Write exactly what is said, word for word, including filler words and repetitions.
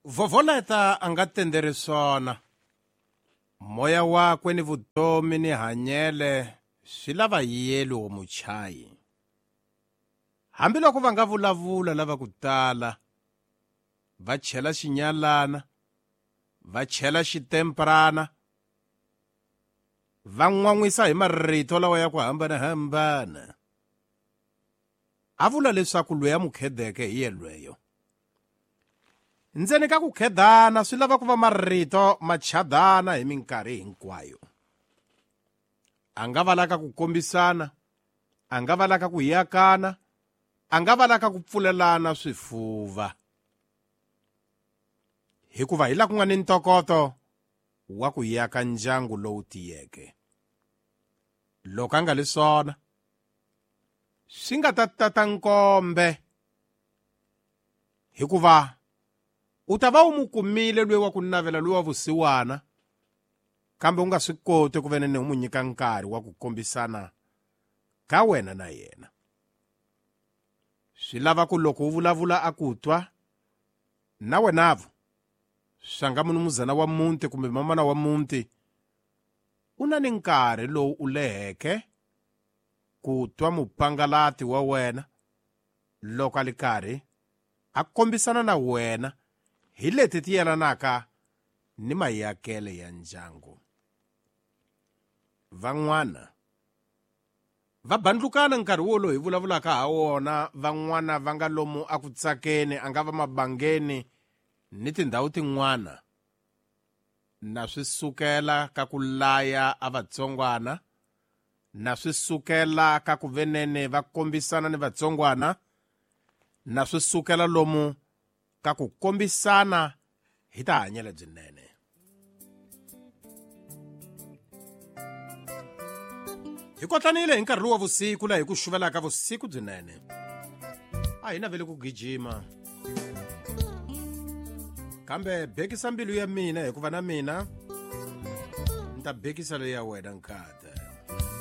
Vovoleta a nga tenderi swona. Moya wakwe ni vutomi ni hanyele swi lava yelo muchayi. Hambiloko va nga vulavula lava ku tala, va chela xinyalana, va chela xitemperana, va n'wan'wisa hi marito lawa ya ku hambanahambana. A vula leswaku loyi a mu khedeke hi yelweyo. Ndzeni ka ku khedana swi lava ku va marito ma chadana hi minkarhi hinkwayo. A nga va laka ku kombisana, a nga va laka ku yakana, a nga va laka ku pfulelana swifuva. Hikuva hi la ku nga ni ntokoto wa ku yaka ndyangu lowu tiyeke. Loko a nga li swona, swi nga ta tata nkombe, hikuva u ta va u mu kumile loyi wa ku navela loyi wa vusiwana, kambe u nga swi koti ku venene u mu nyika nkarhi wa ku kombisana ka wena na yena. Swi lava ku loko u vulavula a ku twa, na wenavo swanga munumuzana wa muti kumbe mamana wa muti u na ni nkarhi lowu u leheke ku twa mupangalati wa wena loko a li karhi a kombisana na wena hi leti ti yelanaka ni mayakele ya ndyangu. Van'wana va bandlukana nkarhi wolowo hi vulavulaka ha wona, van'wana va nga lomu a ku tsakeni, a nga va mabangeni ni tindhawu tin'wana, na swi sukela ka ku laya a vatsongwana, na swi sukela ka ku venene va kombisana ni vatsongwana, na swi sukela lomu ka ku kombisana hi ta hanyela byinene. Hi kotlanile hi nkarhi lowu wa vusiku laha hi ku xuvelaka vusiku byinene. A hi naveli ku gijima, kambe bekisa mbilu ya mina hikuva na mina ni ta bekisa leyi ya wena nkhati.